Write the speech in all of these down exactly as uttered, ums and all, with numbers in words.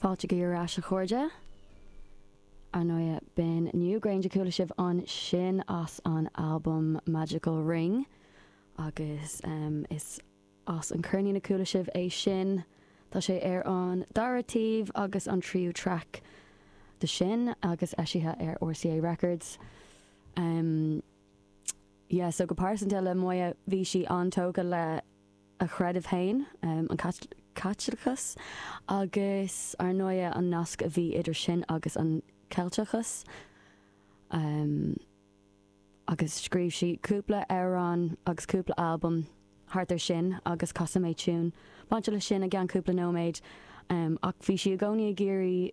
Fáilte go ar ais a chairde. Ar ndóigh b'in Newgrange a chuala sibh ansin as an album Magical Ring agus um, is as an cheirnín a chuala sibh é sin Tá sé ar an dara taobh agus an tríú track de sin agus eisithe ar RCA Records. Um, yeah, so go pearsanta le Moya bhí sí an-tógtha le a creideamh féin um, an Caitliceachas agus ar ndóigh an nasc a bhí idir sin agus an Ceilteachas. Um, agus scríobh sí cúpla amhrán agus cúpla album thart ar sin agus casfaidh mé tiún. Bainte le sin i gceann cúpla nóiméad um, ach bhí sí i gcónaí ag iarraidh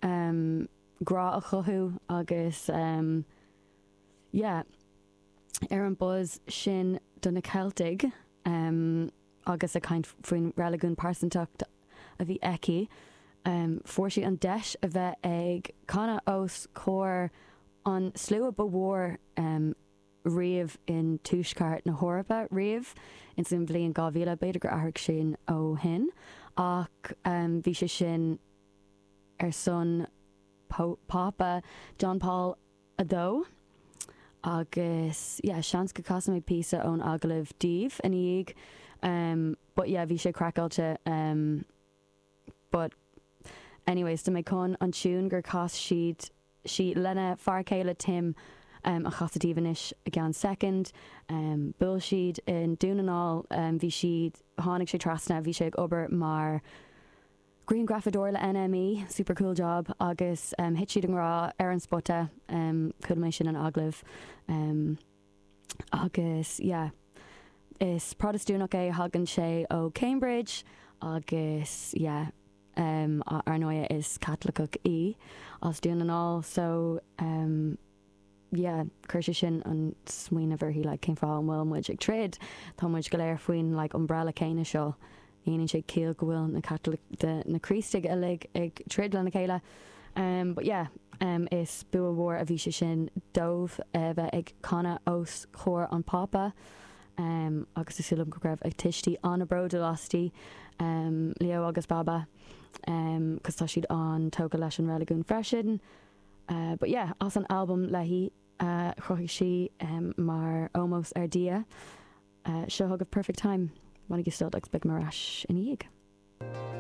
um, grá a chothú agus um, yeah, ar an buzz sin do na Ceiltigh um, agus a caint faoin reiligiún pearsantacht a bhí aici. Um, fuair sí an deis a bheith ag canadh os comhair an slua ba mhór um, riamh in tuaisceart na hEorpa riamh in san bhliain dhá mhíle b'fhéidir gur athraigh sin ó shin ach um, bhí sé sin ar son Pápa John Paul a dó agus yeah, seans go casfaidh mé píosa ón agallamh daoibh ina dhiaidh um, but yeah, bhí sé craiceáilte um, but anyways, tá mé chun an tune gur chas siad sí lena fear céile Tim um, a chasadh daoibh anois i gceann second. Um, Bhuail siad in Dún na nGall um, bhí siad tháinig sé trasna bhí sé ag obair mar grianghrafadóir le NME, super cool job agus um, thit siad i ngrá ar an spota um, chuala mé sin an agallamh um, agus yeah, is Protastúnach é thagann sé ó Cambridge agus yeah, um, ar ndóigh is Caitliceach í as Dún na nGall so um, yeah, chuir sé sin an smaoineamh uirthi like, cén fáth an bhfuil muid ag troid Tá muid go léir faoin like, umbrella céanna seo Ní sé ciall go bhfuil na Catholic de na Críostaithe uilig ag troid lena chéile. Um, but yeah, um, is bua mhór a bhí sé sin dóibh a bheith ag canadh os comhair an Pápa. Um, agus is dóigh liom go raibh a tuistí an-bhródúil aisti um, Leo agus Baba um, cos tá siad an-tógtha leis an reiligiún freisin. Uh, but yeah, as an album léi uh, chruthaigh sí um, mar ómós ar Dia. Uh, seo chugaibh perfect time, Bainigí sult agus beidh mé ar ais ina dhiaidh.